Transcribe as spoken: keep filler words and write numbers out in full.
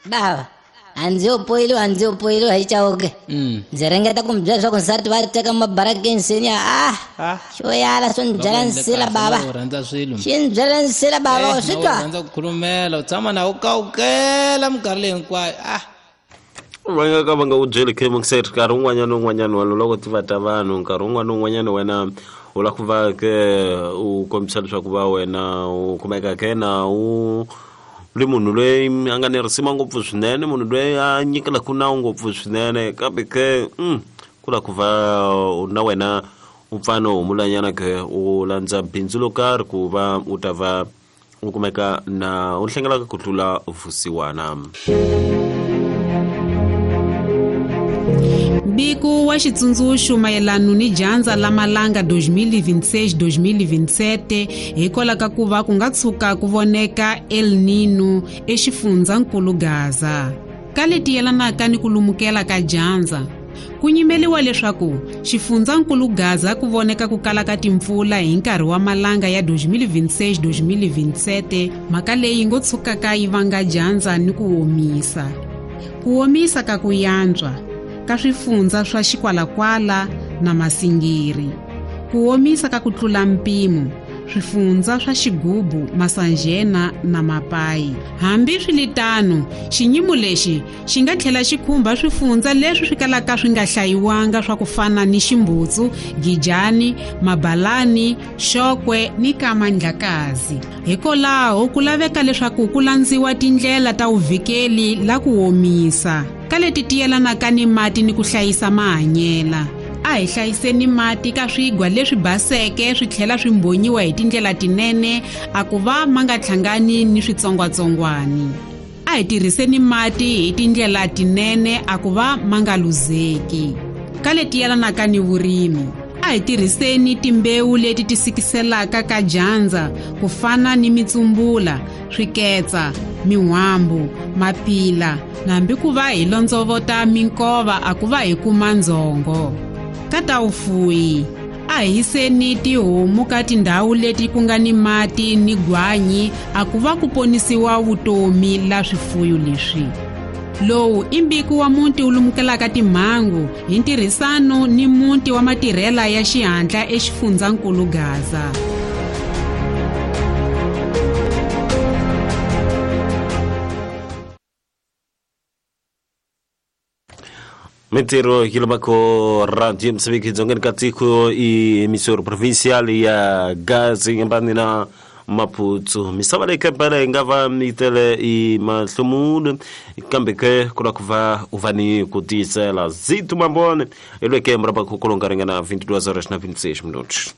Bava a ndzi yo poyiliwa a ndzi yo poyiliwa hi Chauke. Ndzi ringeta ku mi byela leswaku nsati va ri teka mabarakeni nsenya a xo yala swo ni byela nsila bava. U rhandza swilo. Xi ni byela nsila bava u swi twa. U rhandza ku khulumela u tshama na u kawukela minkarhi leyi hinkwayo ah. Va nga ka va nga u byeli khe mungiseri nkarhi wun'wanyana na wun'wanyana wa loko ti va ta vanhu nkarhi wun'wana na wun'wanyana wena u lava ku va ke u kombisa leswaku va wena u kumeka ke na u ri munhu loyi a nga ni risima ngopfu swinene munhu loyi a nyikelaka nawu ngopfu swinene kambe ke ku lava ku va na wena u pfa no humulanyana ke u landza bindzu lo karhi ku va u ta va u kumeka na u hlengelaka ku tlula vusiwana. Mbiko wa xitsundzuxo mayelana ni dyandza la malanga dois mil e vinte e seis dois mil e vinte e sete hikwalaho ka ku va ku nga tshuka ku voneka El Nino exifundzankulu Gaza. Ka leti yelanaka ni ku lumukela ka dyandza, ku nyimeliwa leswaku xifundzankulu Gaza ku voneka ku kala ka timpfula hi nkarhi wa malanga ya dois mil e vinte e seis dois mil e vinte e sete, mhaka leyi ngo tshukaka yi vanga dyandza ni ku omisa. Ku omisa ka ku yantswa ka swifundza swa Xikwalakwala na Masingiri. Ku omisa ka ku tlula mpimo swifundza swa Xigubu, Masanjena na Mapayi. Hambi swiritano, xinyimo lexi xi nga tlhela xi khumba swifundza leswi swi kalaka swi nga hlayiwanga swa ku fana ni Ximbutsu, Gijani, Mabalani, Xokwe ni Kamandlakazi. Hikwalaho ku laveka leswaku ku landziwa tindlela ta vuvikeli la ku omisa ka leti ti yelanaka ni mati ni ku hlayisa mahanyela. A hi hlayiseni mati ka swigwa leswi baseke swi tlhela swi mbonyiwa hi tindlela tinene a ku va ma nga hlangani ni switsongwatsongwani. A hi tirhiseni mati hi tindlela tinene a ku va ma nga luzeki. Ka leti yelanaka ni vurimi, a hi tirhiseni timbewu leti ti sikiselaka ka dyandza ku fana ni mitsumbula, swiketsa, min'wambu, mapila na hambi ku va hi londzovota minkova a ku va hi kuma ndzhongo. Ka ta vufuwi, a hi hiseni tihomu ka tindhawu leti ku nga ni mati ni gwanyi a ku va ku ponisiwa vutomi la swifuyo leswi. Lowu i mbiko wa muti wu lumukelaka timhangu hi ntirhisano ni muti wa matirhela ya xihatla exifundzankulu Gaza. Mintirho yi lomako radio Mseviki dzongeni ka tiko i emissora provincial ya Gaza yi nga na Maputo. Misava leyi kampala yi nga va yi tele i mahlomulo kambe ke ku lava ku va u va ni ku tiyisela. Zito Mambone i lweke murabako ku longa ringana vinte e duas horas na vinte e seis minutos.